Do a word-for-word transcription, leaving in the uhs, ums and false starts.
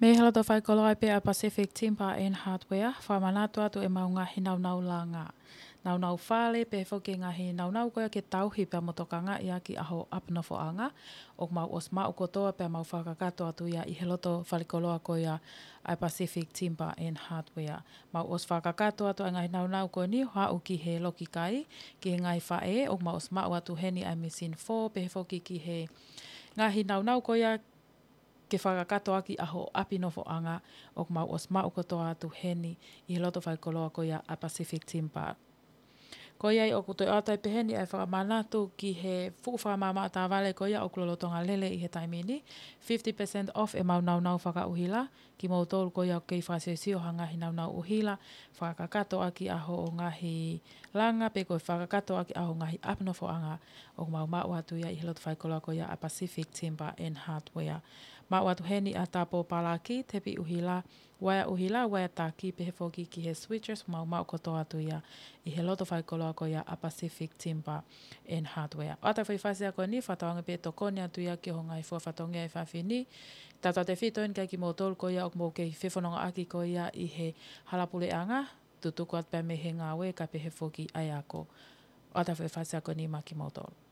Mei he loto faikoloa pē ʻa Pacific Timber and Hardware, fakamanatu atu ʻemau ngaahi naunau langa, naunau fale, pehē foki e ngaahi naunau ko ia ke tauhi pea mo tokangaʻi ʻaki ʻaho ʻapi nofoʻanga, ʻoku mau ʻosi maʻu kotoa pea mau fakakakato atu ia ʻi he loto faikoloa ko ia ʻa Pacific Timber and Hardware. Mau ʻosi fakakakato atu ʻa e ngaahi naunau ko eni ʻo aʻu ki he lokikai, ki he ngaahi faʻē, ʻoku mau ʻosi maʻu atu heni ʻa e machine four, pehē foki ki he ngaahi naunau ko ia ke fakakakato ʻaki ʻaho ʻapi nofoʻanga, ʻoku mau ʻosi maʻu kotoa atu heni ʻi he loto faikoloa ko ia ʻa Pacific Timber. Ko ia ai ʻoku toe ʻoatu ai pē heni ʻa e fakamanatu ki he fuʻu fakamaʻamaʻa tāvale ko ia ʻoku lolotonga lele ʻi he taimi ni, fifty percent off ʻemau naunau fakaʻuhila, kimoutolu ko ia ʻoku kei fakasiosio ha ngaahi naunau ʻuhila, fakakakato ʻaki ʻaho ʻo e ngaahi langa pe ko e fakakakato ʻaki ʻaho ʻo e ngaahi ʻapi nofoʻanga, ʻoku mau maʻu atu ia ʻi he loto faikoloa ko ia ʻa Pacific Timber and Hardware. Maʻu atu heni ʻa e tapo palaki, tepi ʻuhila, uaea ʻuhila, uaea taki, pehē foki ki he switches, mau maʻu kotoa atu ia ʻi he loto faikoloa ko ia ʻa Pacific Timber and Hardware. ʻOatu e foʻi fasi ko eni, fakatauange pē tokoni atu ia ki hoʻo ngaahi fua fatongia ʻi he efiafi ni. Tautautefito eni kia kimoutolu ko ia ʻoku mou kei fefonongaʻaki ko ia ʻi he hala puleʻanga, tutuku atu pē mei he ngāue kae pehē foki ʻa e ako. ʻOatu e foʻi fasi ko eni maʻa kimoutolu.